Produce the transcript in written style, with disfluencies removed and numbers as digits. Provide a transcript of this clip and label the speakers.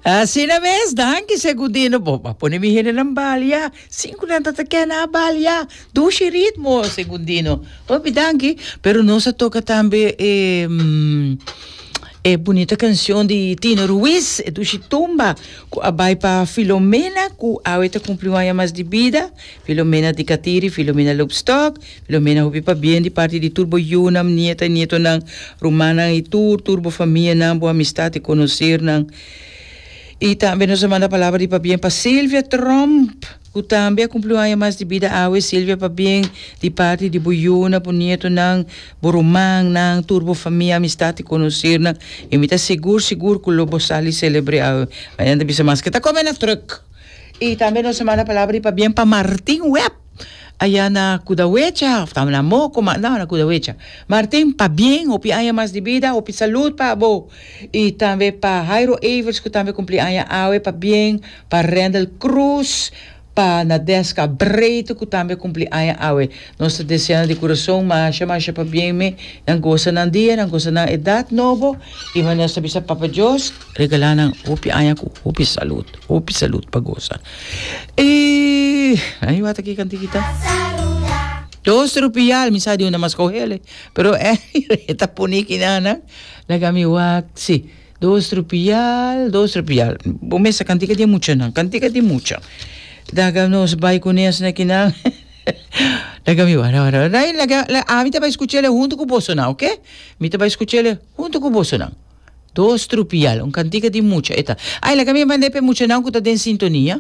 Speaker 1: Asina mes, danki Segundino. Bo a pone mi hendenan balia. Sin ku nan ta ta kena a balia. Dushi ritmo, Segundino. Hopi danki. Pero nos a toka tambe e e bunita kanshon di Tino Ruiz, e dushi tumba ku a bai pa Filomena ku awe ta kumpli un aña mas di bida. Filomena di Katiri, Filomena Loopstok. Filomena hopi pabien di parti di tur bo yunan, nieta y nietonan, rumannan y tur tur bo famianan, bo amistad y conocernan. Y tambe nos a manda palabra di pabien pa Silvia Tromp, cu tambe a cumpli un aña mas di bida awe. Silvia pabien di parti di bo yunan, bo nietonan, bo rumannan, tur bo famia, amistad y conocernan. Y mi ta sigur sigur cu lo bo sali celebre awe. Mañana ta bisa maske ta come na truck. Y tambe nos a manda palabra di pabien pa Martin Webb. Aya na Kudawecha, of ta na Moko, ma no, na Kudawecha. Martin, pabien, hopi aña mas di bida, hopi salud pa bo. Y tambe pa Jairo Evers cu tambe cumpli aña awe, pabien, pa Randall Cruz, pa Nadeska Breito cu tambe cumpli aña awe. Nos ta desea nan di curason masha masha pabien me, nan gosa nan dia, nan gosa nan edad nobo, y nos ta bisa Papa Dios regala nan hopi aña cu hopi salud. Hopi salud pa gosa. E ay wata ki kantikita. Dos rupial, mi sa di una mas kohele. Pero eh, ta pone kinana. Laga mi wak, si. Dos rupial, dos rupial. Bo mesa kantika di mucha nan, kantika di mucha. Daga nos bai kunes na kinan. Laga mi wak, wak, wak. Laga, laga, ami ta bai skuchele huntu ku boso nan, oké? Mi ta bai skuchele huntu ku boso nan. Dos trupial, un kantika di mucha e ta. Ay, laga mi mand'é pa e muchanan ku ta den sintonia.